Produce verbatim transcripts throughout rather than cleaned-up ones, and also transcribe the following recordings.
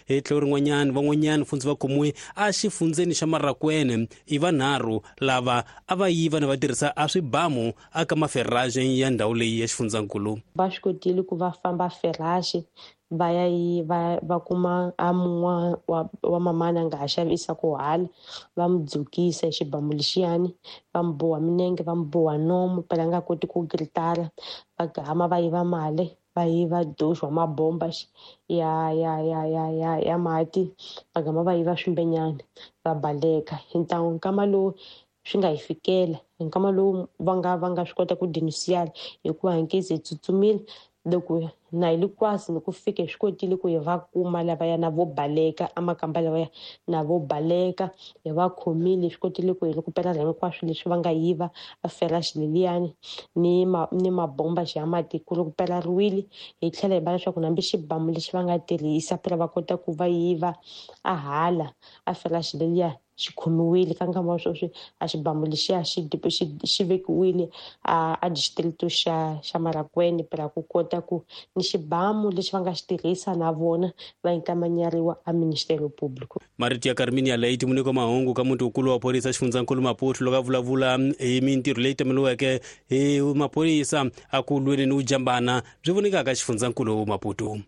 Hi tlhelo rin'wanyana van'wanyana fundzi va khomiwe a xifundzeni xa Marracuene i vanharhu lava a va yiva na va tirhisa a swibamu aka maferraje ya ndhawu leyi ya xifundzankulu. Va swi kotile ku va famba ferraje va ya yi va va kuma a mun'wa wa, wa mamana nga ha xavisa ku hala va mu dzukisa hi xibamu lexiyani va mu boha minenge va mu boha nomu phela nga koti ku gritara va gama va yiva mali va yiva doxo wa mabomba ya ya ya ya ya ya mati va gama va yiva swimbenyana va baleka hi ntangu nkama lowu swi nga hi fikela hi nkama lowu va nga va nga swi kota ku denunciar hikuva hi nkezi hi tsutsumile loko na hi le kwasi ni ku fika hi swi kotile ku hi va kuma lavaya na vo baleka amakamba lavaya na vo baleka hi va khomile hi swi kotile ku hi rekupela hinkwaswo leswi va nga yiva a feraxi leliyani ni ma ni mabomba ya mati ku rekupelariwile hi tlhela hi va leswaku nambi xibamu lexi va nga tirhisa phela va kota ku va yiva a hala a feraxi leliya xi khomiwile ka nkama wa sweswi a xibamu lexiya xi xi xi vekiwile a a district xa xa Marracuene phela ku kota ku ni xibamu lexi va nga xi tirhisa na vona va inkamanyariwa a Ministério Público. Marito ya Carminia Leite muniko mahungu ka muti wukulu wa phorisa xifundzankulu Maputo loko a vulavula hi mintirho leyi tameliweke hi maphorisa a ku lweni ni vujambana byi vonekaka xifundzankulu Maputo.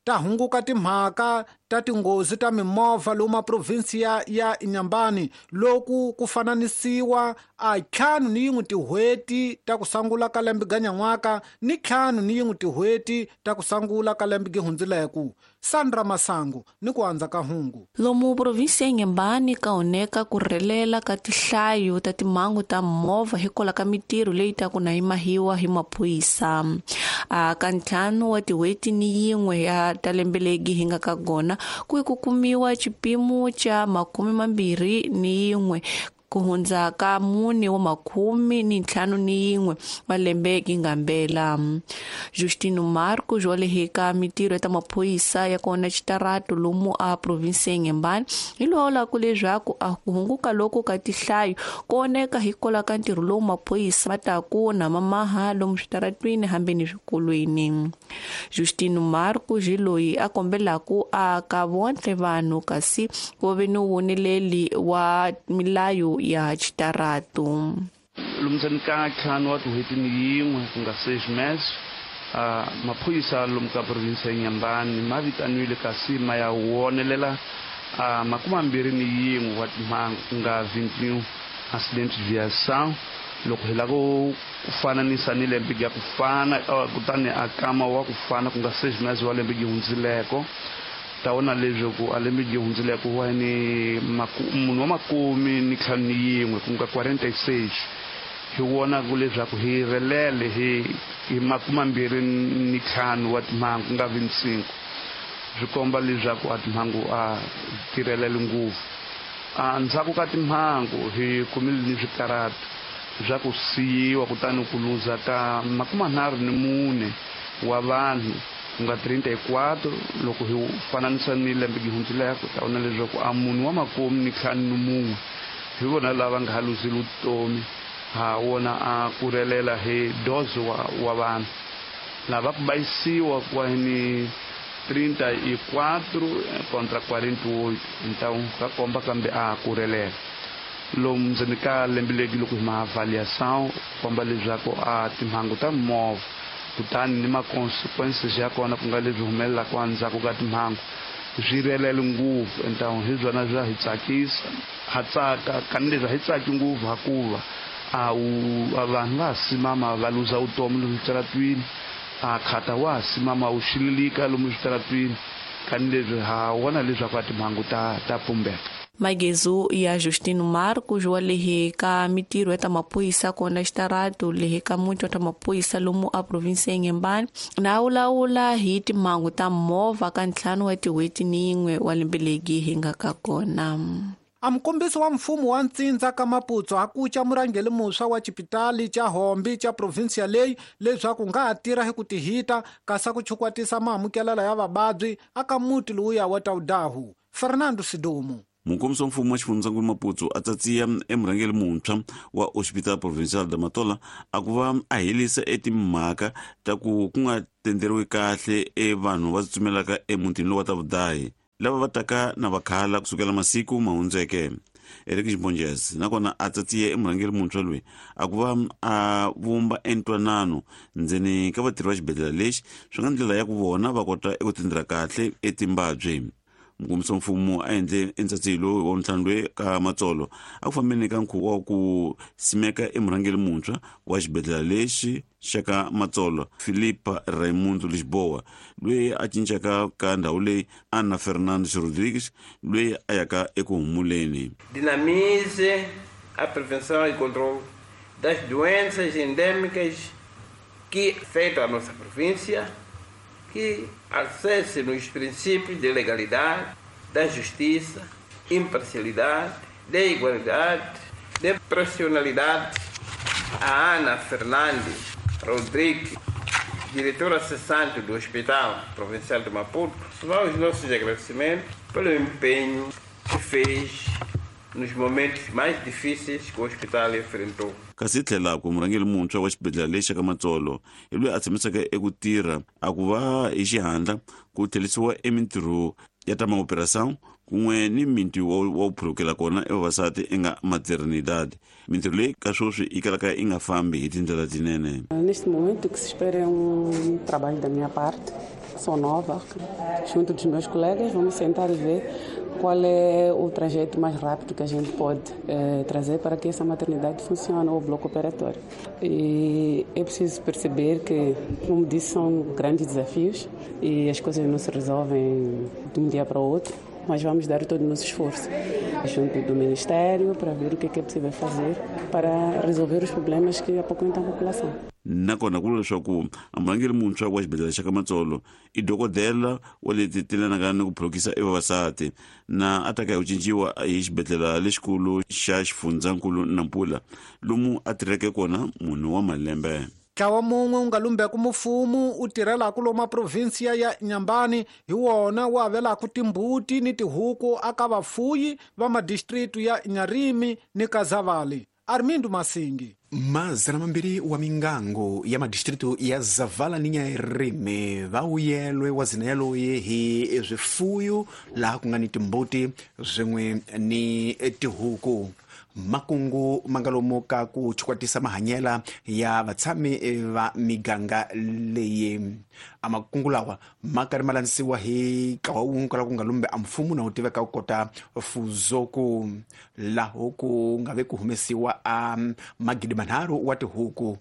Ta hunguka timhaka ta tinghozi ta mimovha lomu provinsi ya ya Inhambane loku ku fananisiwa a ntlhanu ni yin'we tin'hweti ta ku sungula ka lembe ganyan'waka ni ntlhanu ni yin'we tin'hweti ta ku sungula ka lembe gihundzileku. Sandra Masangu ni ku andza ka hungu. Lomu provinsi ya Inhambane ka oneka ku rhelela ka tihlayo ta timhangu ta movha hikwalaho ka mitirho leyi ta ku na yi mahiwa hi maphorisa. A ka ntlhanu wa tin'hweti ni yin'we ya ta lembe legi hi nga ka gona ku ku kumiwa xipimo xa makume mambirhi ni yin'we ku hundza ka mune wa makhume ni ntlhanu ni yin'we wa lembe gingambela. Justino Marcos wa le ka mitirho ya ta maphorisa ya kona xitarato lomu a provinsi ya Inhambane hi lawula ku leswaku a ku hunguka loko ka tihlayo ku oneka hikwalaho ka ntirho lowu maphorisa ma ta ku na mamaha lomu switaratwini hambi ni swikolweni. Justino Marcos hi loyi a kombelaku a ka vontle vanhu kasi ku ve ni woneleli wa milayo ya xitarato. Lomu ka ntlhanu wa tin'hweti ni yin'we ku nga seis meses uh, maphorisa lomu ka provinsi ya Inhambane ma vitaniwile kasi ma ya wonelela uh, makume mambirhi ni yin'we wa timhangu ku nga vingt-et-un accident de viação loko hi lava ku fananisa ni lembe ya ku fana uh, kutani a kama wa ku fana ku nga seis meses wa lembe gi hundzileko ta vona leswaku a lembe gi hundzileko wa ni munhu wa makume ni ntlhanu ni yin'we ku nga quarante-seis hi vona ku leswaku hi relele hi hi makume mambirhi ni ntlhanu wa timhangu ku nga vingt-cinco swi komba leswaku a timhangu a tirhelele ngopfu. A ndzhaku ka timhangu hi kumile ni swikaratu swa ku siyiwa kutani ku luza ka makume manharhu ni mune wa vanhu ku nga trinta e quatro loko hi fananisa ni lembe gi hundzileko ta vona leswaku a munhu wa makume ni ntlhanu ni mun'we hi vona lava nga ha luzile vutomi ha wona a ku relela hi doze wa, wa vanhu lava ku bayisiwa kwa ni trinta e quatro contra quarenta e oito então ka komba kambe a ku relela lomu ndzeni ka lembe legi loko hi ma avaliação komba leswaku a timhangu ta movha kutani ni ma-consequences ya kona ku nga leswi humelelaka endzhaku ka timhangu swi relele ngopfu então hi byona bya hi tsakisa ha tsaka kani leswi a hi tsaki ngopfu hakuva a wu vanhu va ha simama va luza vutomi lomu switaratwini a khata wa ha simama wu xililika lomu switaratwini kani leswi ha vona leswaku a timhangu ta ta pumbeka. Magezu ya Justino Marcos wa lehe ka mitirho ya ta maphorisa kona xitarato lehe ka muti wa ta maphorisa lomu a provinsi ya Inhambane na wulawula hi timhangu ta movha ka ntlhanu wa tin'hweti ni yin'we wa lembe legi hi nga ka kona. A mukombisi wa mfumo wa ntsindza ka Maputo a kuca murhangeri muntshwa wa xipitali xa Hombi xa provinsiya leyi leswaku nga ha tirha hi ku tihita kasi ku chukwatisa maamukelelo ya vavabyi aka muti lowuya wa Taudahu. Fernando Sidumo. Mukombisi wa mfumo wa xifundzankulu Maputo a tsatsiya emurhangeri muntshwa wa Hospital Provincial da Matola a ku va a helisa etimhaka ta ku ku nga tenderiwi kahle e vanhu va tsutsumelaka emutini lowu wa Tavudahi. lava va taka na vakhala kusukela masiku ma hundzeke. Eric Mbonjez nakona a tsatsiye emurhangeri muntshwa loyi a ku va a vumba entwanano ndzeni ka vatirhi va xibedhlele lexi swi nga ndlela ya ku vona va kota eku tindira kahle etimbabye. Mukombisa mfumo a endle entsatsilo wa ntlhanu loyi ka Matsolo a ku fambeni ka nkhuvo wa ku simeka emurhangeri muntshwa wa xibedhlele lexi xa ka Matsolo Philipa Raimundo Lisboa loyi a cincaka ka ndhawu leyi Ana Fernandes Rodrigues loyi a yaka eku humuleni. Dinamize a prevenção e controle das doenças endêmicas que afetam a nossa província, que acesse nos princípios de legalidade, da justiça, imparcialidade, de igualdade, de profissionalidade. A Ana Fernandes Rodrigues, diretora cessante do Hospital Provincial de Maputo, vai os nossos agradecimentos pelo empenho que fez nos momentos mais difíceis que o hospital enfrentou. Kasi tlhela ku murhangeri muntshwa wa xibedhlele lexi ka Matsolo hi loyi a tshamisaka eku tirha a ku va hi xihatla ku tlherisiwa emintirho ya ta maoperação kun'we ni minti wa ku phulukela kona evavasati enga maternidade. Mintirho leyi ka sweswi yi kalaka yi nga fambi hi tindlela tinene. Neste momento o que se espera é um trabalho da minha parte. Sou nova, junto dos meus colegas, vamos sentar e ver qual é o trajeto mais rápido que a gente pode eh, trazer para que essa maternidade funcione, ou o bloco operatório. E é preciso perceber que, como disse, são grandes desafios e as coisas não se resolvem de um dia para o outro, mas vamos dar todo o nosso esforço junto do Ministério para ver o que é, que é possível fazer para resolver os problemas que apoquentam a população. Nakona ku vula leswaku murhangeri muntshwa wa xibedhlele xa ka Matsolo i dokodela wa leti tilanaka ni ku phulukisa evavasati na a taka hi ku cinciwa hi xibedhlele lexikulu xa xifundzankulu Nampula lomu a tirheke kona munhu wa malembe. Ntlawa mun'we wu nga lumbeka mfumo wu tirhelaka lomu provinsiya ya Nyambani hi wona wu avelaka timbuti ni tihuku aka vafuyi va madistritu ya Nyarimi ni Kazavali. Armindo Masingi. Mazana mambiri wa mingango ya madistritu ya Zavala ni Nyarimi va wuyelwe wa zina yaloye hi swifuyo laha ku nga ni timbuti swin'we ni tihuku. Makungu mangalomo ka ku chikwatisa mahanyela ya vatshami va miganga leyi. A makungu lawa ma karhi ma landzisiwa hi ntlawa wun'we kwala ku nga lumbe a mfumo na wu tiveka ku kota Fuzoku, laho ku nga ve ku humesiwa a magidi manharhu wa tihuku,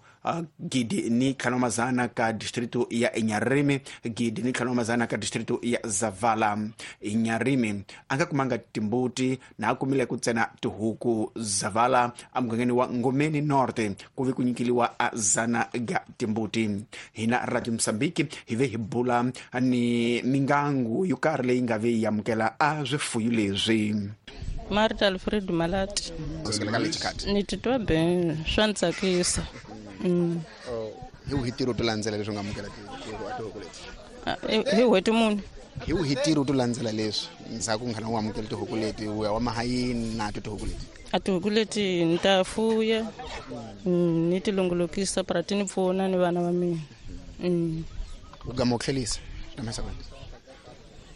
gidi ni ntlhanu wa mazana ka distritu ya Nyarimi, gidi ni ntlhanu wa mazana ka distritu ya Zavala. Nyarimi a nga kumanga timbuti na a kumile ku ntsena tihuku. Zavala emugangeni wa Ngomeni Norte ku ve ku nyikeliwa a zana ga timbuti. Hina Radio Mozambique hi ve hi bula ni mingangu yo karhi leyi nga ve yi amukela a swifuyo leswi. Marta Alfred Malati. Ni titwa ben swa ni tsakisa. Hi wihi ntirho to landzela leswi nga amukela tihuku leti? Hi n'hweti muni? Hi wihi ntirho to landzela leswi ndzhaku nkhana wu amukela tihuku leti wu ya wa mahayini na to tihuku leti? A tihuku leti ni ta fuya ni ti longolokisa para ti ni pfuna ni vana va mina. U gama u tlhelisa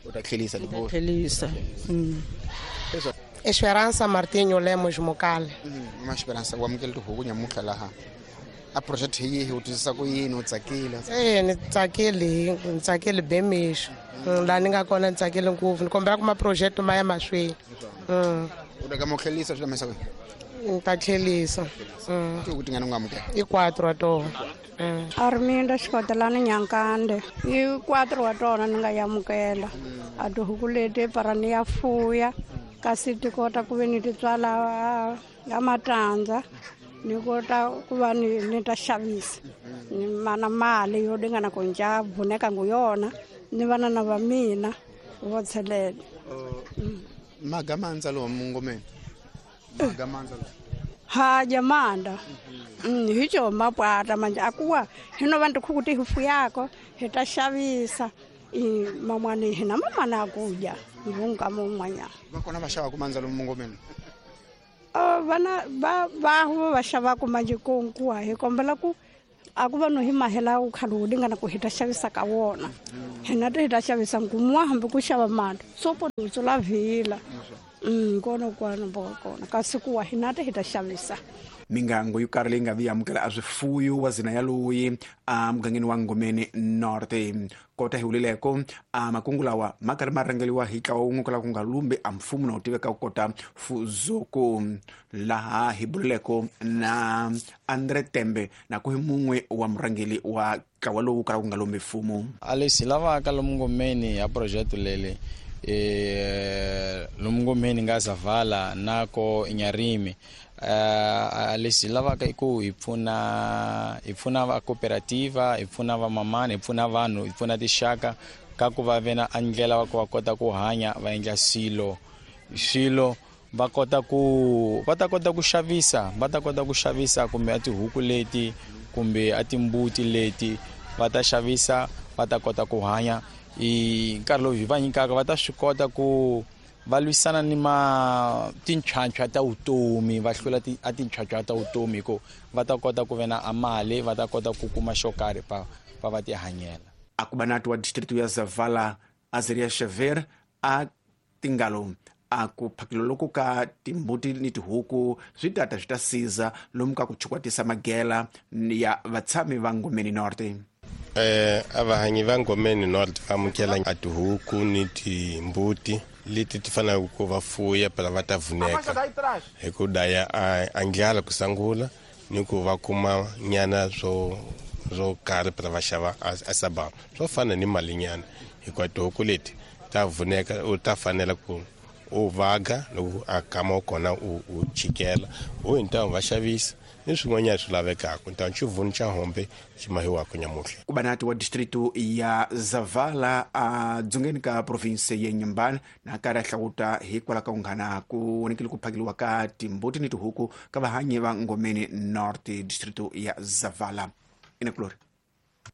u ta tlhelisa tlhelisa. Esperança Martinho Lemos Mokale. Ma Esperança wa amukela tihuku nyamuntlha laha a project hi yihi u twisisa ku yini u tsakile? E ni tsakile, ni tsakile bemixo laha ni nga kona ni tsakile ngopfu ni kombela ku ma-project ma ya mahlweni. U ta gama u tlhelisa swi lamisa ni ta tlhelisa. Tihuku tingani u nga amukela? I quatro wa tona. Arminda Xikotelani Nyankande. I quatro wa tona ni nga yamukela. A tihuku leti para ni ya fuya kasi ti kota ku ve ni ti tswala ya matandza ni kota ku va ni ni ta xavisa ni mana mali yo dingana ku nja vuneka ngu yona ni vana na va mina vo tshelela. Magamandza lowa mungomeni magamandza lowa ha jamanda hi co mapwata manje akuwa hino vantu khukuti hi fuyako hi ta xavisa i mamwani hina mamana akuja ngunga mun'wanyana va kona va xava ku mandza lomu mungomeni? Vana va va va xavaku manje konkuwa hi kombela ku a ku va no hi mahela wu khale wu lingana ku hi ta xavisa ka wona hi Hina hi ta xavisa nkumiwa hambi ku xava mali sopo tsula vhila mm kona kwana bo kona kasi kuwa hina hi ta xavisa. Mingango yo karhi leyi nga vi amukela a swifuyo wa zina ya loyi a mugangeni wa Ngomeni North. Kota hi wulileko a makungu lawa ma karhi ma rhangeliwa hi ntlawa wun'we kwala ku nga lumbi a mfumo na wu tiveka ku kota Fuzuku, laha hi bululeko na Andre Tembe na ku hi mun'we wa murhangeli wa ntlawa lowu kwala ku nga lumbi mfumo. A leswi lavaka lomu Ngomeni ya project leli eh lomu Ngomeni nga Zavala na ko Inyarimi, Uh, leswi lavaka i ku hi pfuna hi pfuna va cooperativa, hi pfuna va mamani, hi pfuna vanhu, hi pfuna tixaka ka ku va ve na ndlela va ku va kota ku hanya, va endla swilo swilo va kota ku va ta kota ku xavisa, va ta kota ku xavisa kumbe a tihuku leti kumbe a timbuti leti va ta xavisa, va ta kota ku hanya. I nkarhi lowu hi va nyikaka va ta swi kota ku va lwisana ni ma tinchwanchwa ta vutomi, va hlula a tinchwanchwa ta vutomi hi ku va ta kota ku ve na a mali, va ta kota ku kuma xo karhi pa va va ti hanyela. Akubanati wa district ya Zavala Azaria Xavier a tingalo a ku phakelo loko ka timbuti ni tihuku swi tata swi ta siza lomu ka ku chukwatisa magela ya vatshami va Ngomeni North. Eh a vahanyi va Ngomeni North va amukela a tihuku ni timbuti leti ti faneleke ku va fuya phela va ta vuneka hi ku daya a ndlala ku sungula ni ku va kuma nyana swo swo karhi phela va xava a sabava swo fana ni mali nyana, hikuva tihuku leti ta vuneka u ta fanela ku u vaga loko a kama kona u u chikela u hintamu va xavisa ni swin'wanyana swi lavekaka ntamu xivuni xa hombe xi mahiwaka nyamuhla. Kubanati wa district ya Zavala a dzongeni ka province ya Inhambane na karhi a hlawuta hikwalaho ka kunghana ku vonekile ku phakeliwa ka timbuti ni tihuku ka vahanyi va Ngomeni North district ya Zavala. Inakulori.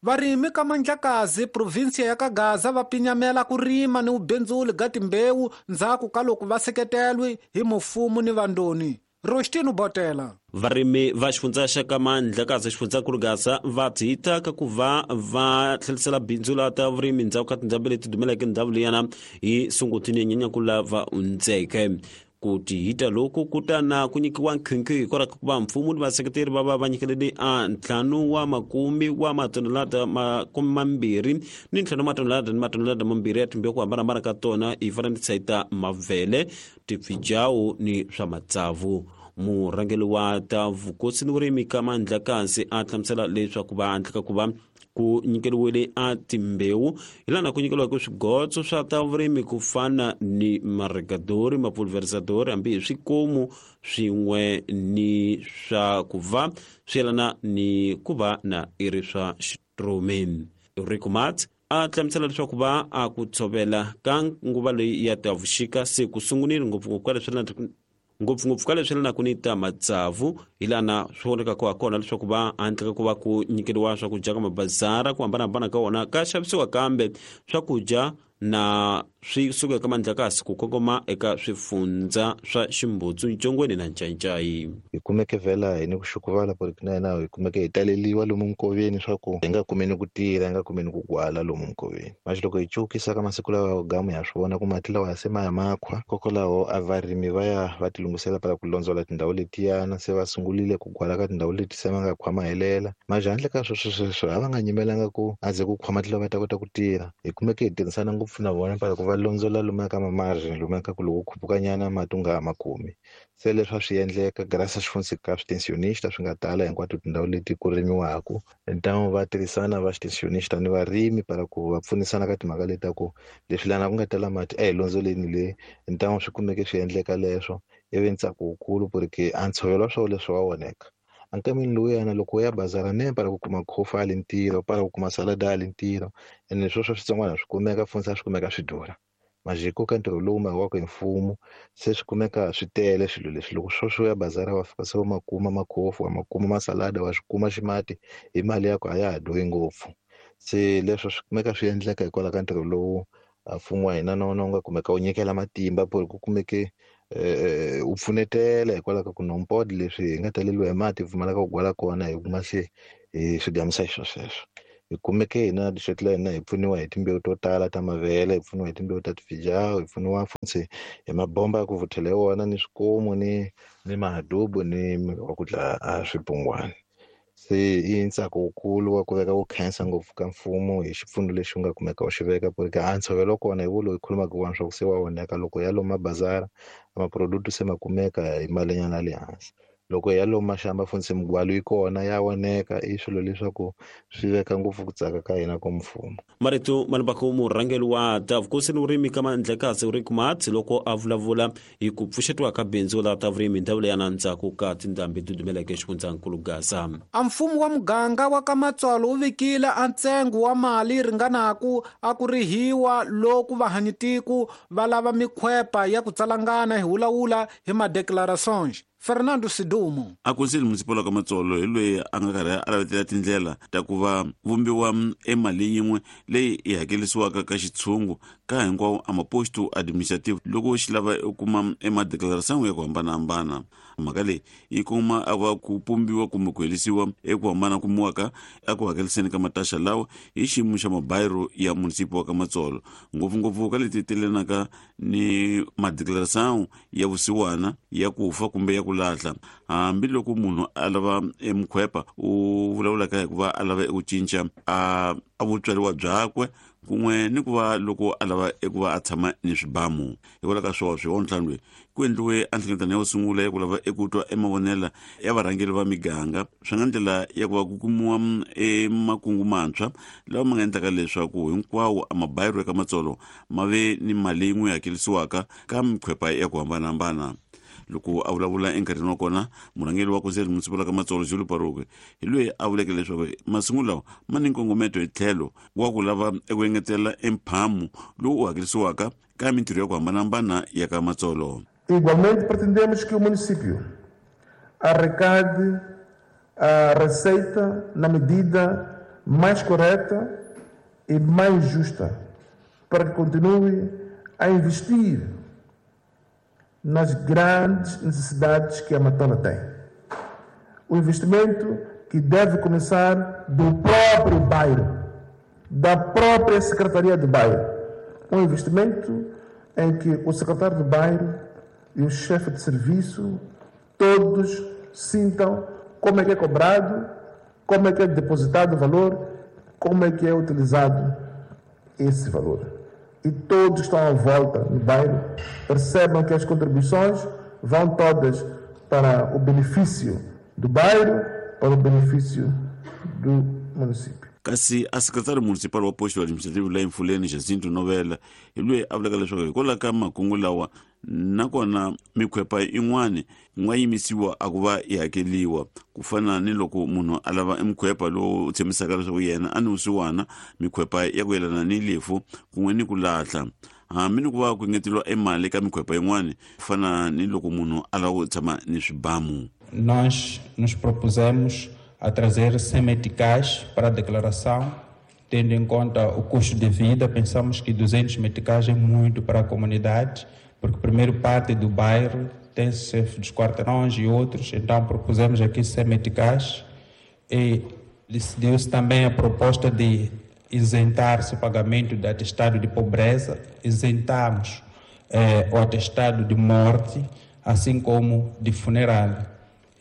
Varimi ka Mandlakazi provinsia ya Kagaza va pinyamela ku rima ni vubindzuli ga timbewu ndzhaku ka loko va seketelwe hi mufumo ni vandoni. Rostino Botela. Varimi va xifundza xa ka Mandlakazi xifundzankulu Gaza va dzita ka ku va va tlhelisela bindzu la ta vurimi ndzhaku ka tindhambi leti dumeleke ndhawu liyana hi Sunguti Nyenyankulu lava hundzeke. Ku tihita loku ku ta na ku nyikiwa nkhinkhi hikwalaho ka ku va mfumo ni vaseketeri va va va nyikelele a ntlhanu wa makume wa matonelada makume mambirhi ni ntlhanu matonelada ni matonelada mambirhi ya timbewu ku hambanahambana ka tona hi fananisa ta mavele, tifijawu ni swa matsavu. Murhangeri wa ta vukosi ni vurimi ka Mandlakazi a hlamusela leswaku va handle ka ku va ku nyikeriwile a timbewu hi lana ku nyikeriwaka swigotso swa ta vurimi ku fana ni marigadori, mapulverizadori hambi hi swikomu swin'we ni swa ku va swi yelana ni ku va na i ri swa xitrumi. Rico Mats a hlamusela leswaku va a ku tshovela ka nguva leyi ya ta vuxika se ku sungunile ngopfungopfu ka leswi ngopfungopfu ka leswi yelanaka ni ta matsavu hi lana swi vonekaka ha kona leswaku va handle ka ku va ku nyikeriwa swakudya ka mabazara ku hambanahambana ka wona ka xavisiwa kambe swakudya na swi suka eka Mandlakazi ku kongoma eka swifundza swa Ximbutsu, Ncongweni na Ncayicayi. Hi kumeke vhela hi ni ku xukuvala porque na hina hi kumeke hi taleliwa lomu nkoveni swa ku hi nga kumeni ku tirha, hi nga kumeni ku gwala lomu nkoveni. Manje loko hi cukisa ka masiku lawa gamu ya swi vona ku mati lawa se ma ya makhwa, kokwalaho a varimi va ya va ti lunghisela para ku londzola tindhawu letiyana, se va sungulile ku gwala ka tindhawu leti se ma nga khwa ma helela. Manje handle ka sweswo sweswo a va nga nyimelanga ku a ze ku khwa mati lawa va ta kota ku tirha. Hi kumeke hi tirhisana ngopfu na vona para ku va londzola lomuya ka mamargin lomuya ka ku loko khupukanyana mati u nga ha ma kumi. Se leswi a swi endleka graças xi ka switensionista swi nga tala hinkwato tindhawu leti ku rimiwaka. Ntamu va tirhisana va xitensionista ni varimi para ku va pfunisana ka timhaka leti ta ku leswi lana ku nga tala mati a hi londzoleni le. Ntamu swi kumeke swi endleka leswo ivi ntsako wukulu porque a ntshovelo wa swona leswi wa voneka. Ankameni lowuyana loko u ya bazara ne para ku kuma khofa ali ntirho, para ku kuma salada ali ntirho, ene sweswo switsongwana swi kumeka funza swi kumeka swi durha. Majiko ka ntirho lowu mahiwaka hi mfumo se swi kumeka swi tele swilo leswi. Loko sweswo u ya bazara wa fika se u ma kuma makhofu, wa ma kuma masalada, wa swi kuma ximati hi mali ya ku a ya ha durhi ngopfu. Se leswo swi kumeka swi endleka hikwalaho ka ntirho lowu mfumo wa hina na wona wu nga kumeka wu nyikela matimba ku ku kumeke u pfunetela hikwalaho ka ku nompod leswi hi nga taleliwa hi mati hi pfumalaka ku gwala kona hi kuma se hi swi gamisa hi sweswo. Hi kumeke hina district la hina hi pfuniwa hi timbewu to tala ta mavele, hi pfuniwa hi timbewu ta tifijawu, hi pfuniwa futhi hi mabomba ya ku vuthela hi wona ni swikomu ni ni mahadubu ni wa ku dlaya a swibungwana. Se i ntsako wukulu wa ku veka ku khensa ngopfu ka mfumo hi xipfuno lexi u nga kumeka u xi veka ku ri ka a ntshovelo kona hi wo loyi khulumaka wona swa ku se wa onheka loko ya lomu mabazara maproduct se ma kumeka hi malinyana ya le hansi. Loko ya lomu maxamba funtsi migwalo yi kona ya oneka, i swilo leswaku swi veka ngopfu ku tsaka ka hina ka mfumo. Marito malibako murhangeri wa ta vukosi ni vurimi ka Mandlekasi Rick Matz loko a vulavula hi ku pfuxetiwa ka bindzu la ta vurimi ndhawu leyi na ndzhaku ka tindhambi ti dumeleke xifundzankulu Gaza. A mfumo wa muganga wa ka Matsolo wu vikile a ntsengo wa mali ringanaku a ku rihiwa loku vahanyitiku va lava mikhwepa ya ku tsalangana hi wulawula hi madeclarations. Fernando Sidumo. A Conselho Municipal ka Matsolo hi loyi a nga karhi a lavetela tindlela ta ku va vumbiwa emali yin'we leyi yi hakelisiwaka ka xitshungu ka hinkwawo a maposto administrative loko xi lava u kuma emadeclaration ya ku hambanahambana. Mhaka leyi yi kuma a va ku pumbiwa kumbe ku helisiwa eku hambana kumiwaka eku hakeliseni ka mataxa lawa hi xiyimo xa mabayiro ya munisipi wa ka Matsolo, ngopfungopfu ka leti telenaka ni madeclaration ya vusiwana ya ku fa kumbe ya ku lahla. Hambiloko munhu a lava emkhwepa u vulavulaka hi ku va a lava eku cinca a a vutswariwa byakwe kun'we ni ku va loko a lava eku va a tshama ni swibamu. Hikwalaho ka swona swi ntlhanu loyi ku endliwe a nhlengeletano ya ku sungula ya ku lava eku twa emavonelo ya varhangeri va miganga swi nga ndlela ya ku va ku kumiwa emakungu mantshwa lawa ma nga endlaka leswaku hinkwawo a mabayiro eka Matsolo ma ve ni mali yin'we hakelisiwaka ka mikhwepa ya ku hambanahambana. Loko a vulavula enkarhini wa kona murhangeri wa Conselho Municipal ka Matsolo Julu Paruke hi loyi a vuleke leswaku masungulo lawa ma ni nkongometo hi tlhelo wa ku lava eku engetela emphamu lowu u hakelisiwaka ka mintirho ya ku hambanahambana ya ka Matsolo. Igualmente pretendemos que o município arrecade a receita na medida mais correta e mais justa para que continue a investir nas grandes necessidades que a Matola tem. O investimento que deve começar do próprio bairro, da própria Secretaria de Bairro. Um investimento em que o secretário de bairro e o chefe de serviço, todos sintam como é que é cobrado, como é que é depositado o valor, como é que é utilizado esse valor. E todos estão à volta no bairro, percebam que as contribuições vão todas para o benefício do bairro, para o benefício do município. Kasi a secretário municipal wa posto administrativo la Mfuleni Jacinto Novela hi loyi a vulaka leswaku hikwalaho ka makungu lawa nakona mikhwepa yin'wani yi nga yimisiwa a ku va yi hakeliwa ku fana ni loko munhu a lava emkhwepa lowu tshembisaka leswaku yena a ni vusiwana, mikhwepa ya ku yelana ni lefu kun'we ni ku lahla. Hambi ni ku va ku engeteriwa emali ka mikhwepa yin'wani ku fana ni loko munhu a lava ku tshama ni swibamu. Nós nos propusemos a trazer cem meticais para a declaração, tendo em conta o custo de vida. Pensamos que duzentos meticais é muito para a comunidade, porque primeiro parte do bairro tem chefe dos quarteirões e outros, então propusemos aqui cem meticais e decidiu-se também a proposta de isentar-se o pagamento do atestado de pobreza, isentamos eh, o atestado de morte, assim como de funeral.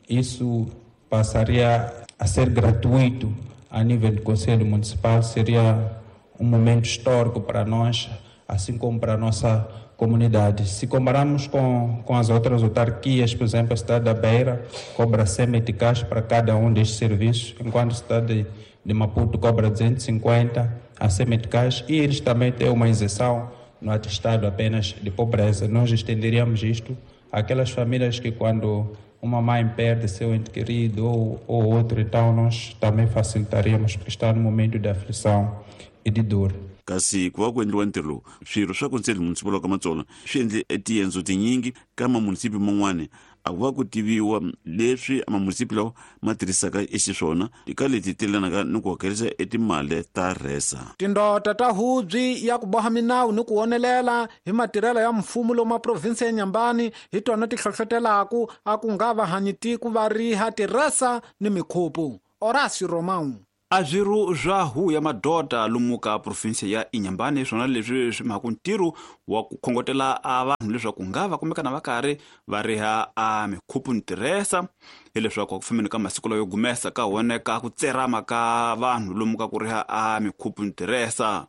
Isso passaria a ser gratuito a nível do Conselho Municipal, seria um momento histórico para nós, assim como para a nossa comunidade. Se compararmos com, com as outras autarquias, por exemplo, a cidade da Beira cobra cem meticais para cada um destes serviços, enquanto a cidade de, de Maputo cobra duzentos e cinquenta a cem meticais, e eles também têm uma isenção no atestado apenas de pobreza. Nós estenderíamos isto àquelas famílias que, quando uma mãe perde seu ente querido ou, ou outro, então nós também facilitaríamos, porque está no momento de aflição e de dor. Kasi ku va ku endliwa ntirho lowu, swirho swa Conselho Municipal wa ka Matsolo swi endle tiendzo tinyingi ka mamunisipi man'wani a ku va ku tiviwa leswi mamunisipi lawa ma tirhisaka exiswona eka leti telanaka ni ku hakerisa etimali ta resa. Tindota ta hubyi ya ku boha minawu ni ku onelela hi matirhelo ya mfumo lomu provinsi ya Nyambani hi tona ti hlohlotelaku a ku nga va hanyitiku va riha tirhesa ni mikhupu. Horacio Romão. A swirho swa huvo ya madoda lomu ka province ya Inhambane swona leswi swi mhaka ntirho wa ku khongotela a vanhu leswaku nga va kumekana va karhi va riha a mikhuphu ntirhesa hileswaku ku fambeni ka masiku layo gumesa ka honeka ku tserama ka vanhu lomu ka ku riha a mikhuphu ntirhesa.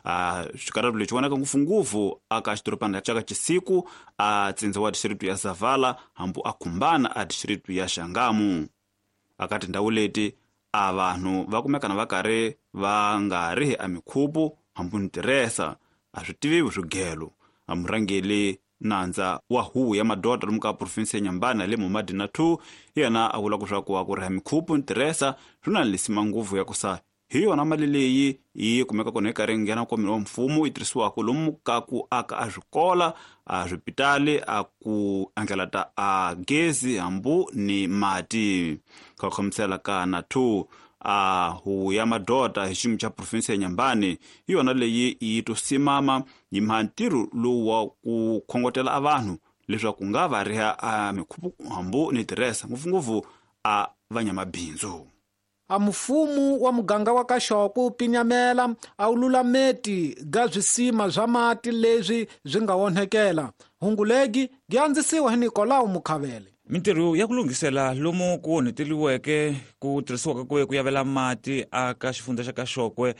A xikarhatu lexi vonaka ngopfungopfu aka xidorobana xa ka Chisiku a tsindza wa district ya Zavala hambu a Khumbana a district ya Xangamu. Aka tindhawu leti a vanhu va kumekana va karhi va nga rihi a mikhuphu hambu ntirhesa a swi tiviwi swigelo. A murhangeli nandza wa huvo ya madoda lomu ka province ya Inhambane le Mumadina two yena a vula ku swa ku ku riha mikhuphu ntirhesa swi na lisima ngopfu ya ku sa hi yona mali leyi yi kumeka kona yi karhi nghena nkwameni wa mfumo yi tirhisiwaka lomu ka ku aka a swikola a swipitali a ku andlala ta a gezi hambu ni mati. Ka khomisela ka na two a huvo ya madoda hi xiyimo xa province ya Inhambane hi yona leyi yi to simama yi mha ntirho lowu wa ku khongotela a vanhu leswaku nga va riha a mikhuphu hambu ni tirhesa ngopfungopfu a vanyamabindzu. A mfumo wa muganga wa Kaxoko pinyamela a wu lulameti ga swisima swa mati leswi swi nga onhekela. Hungulegi gi andzisiwa hi Nicolau Mukhavele. Mintirho ya ku lunghisela lomu ku onheteliweke ku tirhisiwaka ku ku yavela mati aka xifundza xa Kaxokwe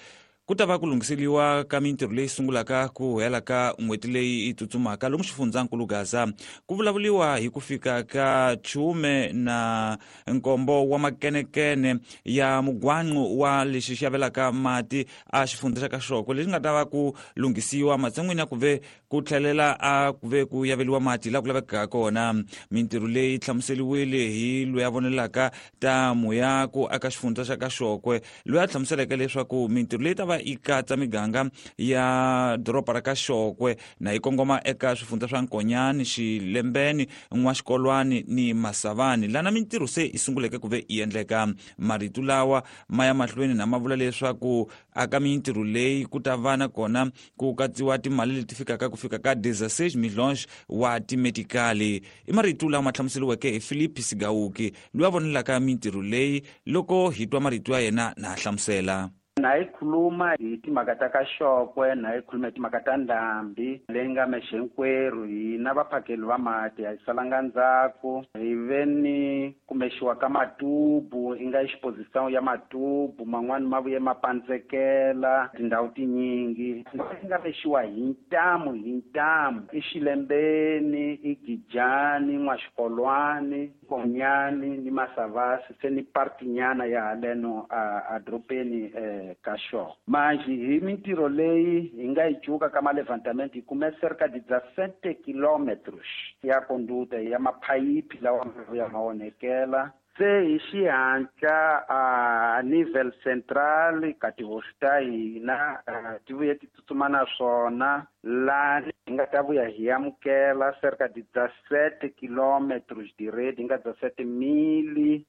ku ta va ku lunghiseliwa ka mintirho leyi sungulaka ku hela ka n'hweti leyi yi tsutsumaka lomu xifundzankulu Gaza. Ku vulavuriwa hi ku fika ka chume na nkombo wa makenekene ya mugwanqu wa lexi xi yavelaka mati a xifundza xa Kaxokwe lexi nga ta va ku lunghisiwa matshan'wini ya ku ve ku tlhelela a ku ve ku yaveliwa mati laha ku lavekaka kona. Mintirho leyi hlamuseliwile hi loyi a vonelaka ta muyaku aka xifundza xa Kaxokwe loyi a hlamuseleke leswaku mintirho leyi ta va yi katsa miganga ya doroba ra Kaxokwe na yi kongoma eka swifundza swa Nkonyani, Xilembeni, N'waxikolwani ni Masavani lana mintirho se yi sunguleke ku ve yi endleka. Marito lawa ma ya mahlweni na ma vula leswaku aka mintirho leyi ku ta va na kona ku katsiwa timali leti fikaka ku fika ka dezesseis milhões wa timetikali. I marito lawa ma hlamuseriweke hi Philip Sigauki loyi a vonelaka mintirho leyi loko hi twa marito ya yena na hlamusela. Na yi khuluma hi timhaka ta Kaxokwe, na yi khuluma hi timhaka ta ndhambi leyi nga mexenkwerhu. Hina vaphakeli va mati a hi salanga ndzhaku, hi ve ni kumexiwa ka matubu i nga exposition ya matubu man'wani ma vuye ma pandzekela tindhawu tinyingi. Yi nga mexiwa hi ntamu hi ntamu i Xilembeni, i Gijani, N'waxikolwani, Nkonyani ni Masavasi se ni partinyana ya haleno a, a doropeni eh, Kaxokwe. Manje hi mintirho leyi hi nga yi cuka ka malevantamento hi kume cerca de dezessete quilômetros ya conduta ya maphayiphi lawa ya ma onhekela. Se hi xihatla a nível central ka tihosi ta hina ti vuye ti tsutsuma na swona laha hi nga ta vuya hi amukela cerca de dezessete quilômetros de rede, hi nga dezessete mil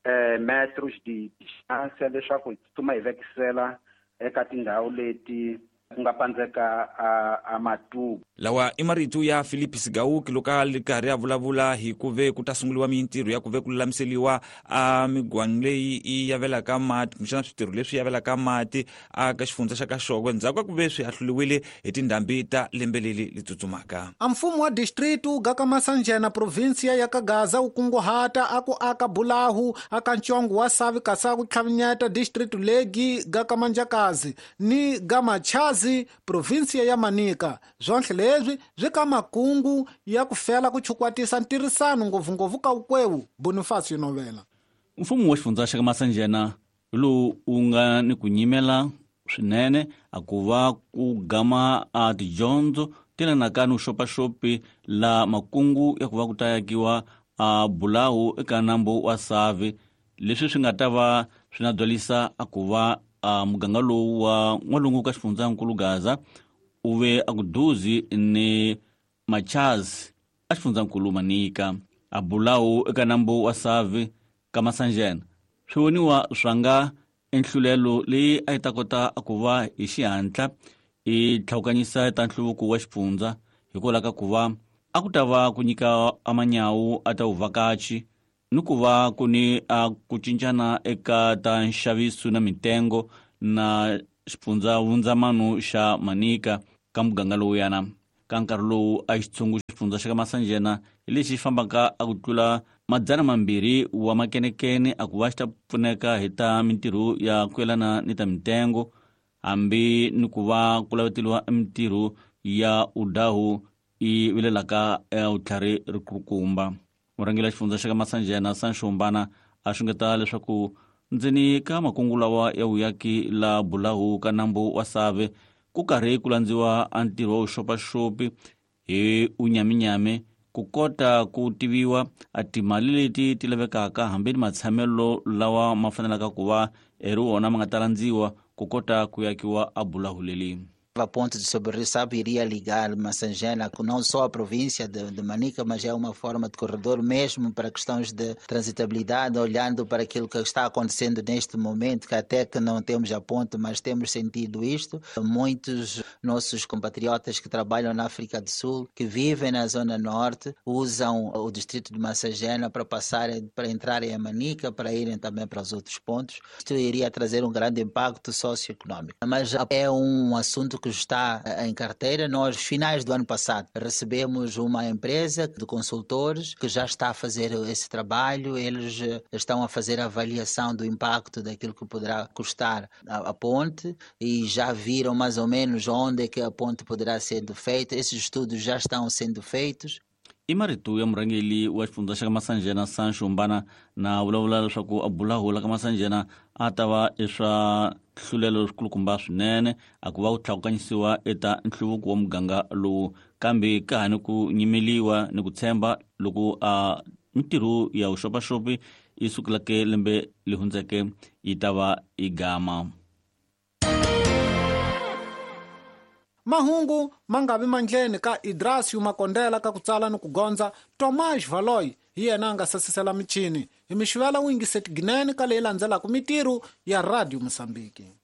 eh, metros de distância leswaku hi tsutsuma hi vekisela eka tindhawu leti ku nga pandzeka a, a matubu. Lawa i marito ya Philip Sigauki loko a ri karhi a vulavula hi ku ve ku ta sunguriwa mintirho ya ku ve ku lulamiseliwa a migwangu leyi yi yavelaka mati kumbexana switirho leswi yavelaka mati aka xifundza xa Kaxokwe ndzhaku ka ku ve swi ahluliwile hi tindhambi ta lembe leri li tsutsumaka. A mfumo wa district wu gaka Masanjena provinsia ya Kagaza wu kunguhata a ku aka bulahu aka ntsongo wa Savi kasi ku tlhavinyeta district legi gaka Manjakazi ni Gamachazi provinsia ya Manica. Zwonhle leswi swi ka makungu ya ku fela ku chukwatisa ntirhisano ngopfungopfu ka wukwewu. Bonifacio Novela. Mfumo wa xifundza xa Masanjena lowu wu nga ni ku nyimela swinene a ku va ku gama a tidyondzo ti lanaka ni vuxopaxopi la makungu ya ku va ku ta yakiwa a bulahu eka nambu wa Savi leswi swi nga ta va swi na byalisa a ku va a muganga lowu wa n'walungu ka xifundzankulu Gaza u ve a ku duzi ni Machazi a xifundzankulu Manica. A bulahu eka nambu wa Savi ka Masanjena swi voniwa swa nga enhlulelo leyi a yi ta kota ku va hi xihatla i tlhawukanyisa ta nhluvuko wa xifundza hikwalaho ka ku va a ku ta va ku nyika amanyawu a ta vuvhakachi ni ku va ku ni a ku cincana eka ta nxaviso na mitengo na xifundza vundzamano xa Manica ka muganga lowuyana. Ka nkarhi lowu a xitshungu xifundza xa ka Masanjena hi lexi xi fambaka a ku tlula madzana mambirhi wa makenekene a ku va xi ta pfuneka hi ta mintirho ya ku yelana ni ta mitengo, hambi ni ku va ku laveteliwa mintirho ya udahu i vilelaka vutlhari rikulukumba. Murhangeri wa xifundza xa ka Masanjena Sancho Mbana a xungeta leswaku ndzeni ka makungu lawa ya vuyaki la bulahu ka nambu wa Save ku karhi ku landziwa a ntirho wa vuxopaxopi hi unyaminyami ku kota ku tiviwa a timali leti ti lavekaka hambi ni matshamelo lawa ma fanelaka ku va eri wona ma nga ta landziwa ku kota ku yakiwa a bulahu leli. A ponte de sobre o Rio Save iria ligar Massangena, não só a província de, de Manica, mas é uma forma de corredor mesmo para questões de transitabilidade, olhando para aquilo que está acontecendo neste momento, que até que não temos a ponte, mas temos sentido isto. Muitos nossos compatriotas que trabalham na África do Sul, que vivem na zona norte, usam o distrito de Massangena para passarem, para entrarem em Manica, para irem também para os outros pontos. Isto iria trazer um grande impacto socioeconômico. Mas é um assunto que está em carteira. Nós, finais do ano passado, recebemos uma empresa de consultores que já está a fazer esse trabalho. Eles estão a fazer a avaliação do impacto daquilo que poderá custar a, a ponte e já viram mais ou menos onde é que a ponte poderá ser feita. Esses estudos já estão sendo feitos. I marito ya murhangeri wa xifundza xa ka Masanjena Sancho Mbana na vulavula leswaku a bulahu la ka Masanjena a ta va eswa hlulelo leswikulukumba swinene a ku va ku tlakukanyisiwa eta nhluvuko wa muganga lowu, kambe ka ha ni ku nyimeliwa ni ku tshemba loko a mintirho ya vuxopaxopi yi sukeleke lembe leri hundzeke yi ta va yi gama. Mahungu mangavi mandleni ka Idrasio Makondela ka ku tsala ni ku gondza Tomas Valoy hi yena a nga sasisela michini hi mixivela wingiseti ginene ka leyi landzelaka mitirho ya Radio Mozambique.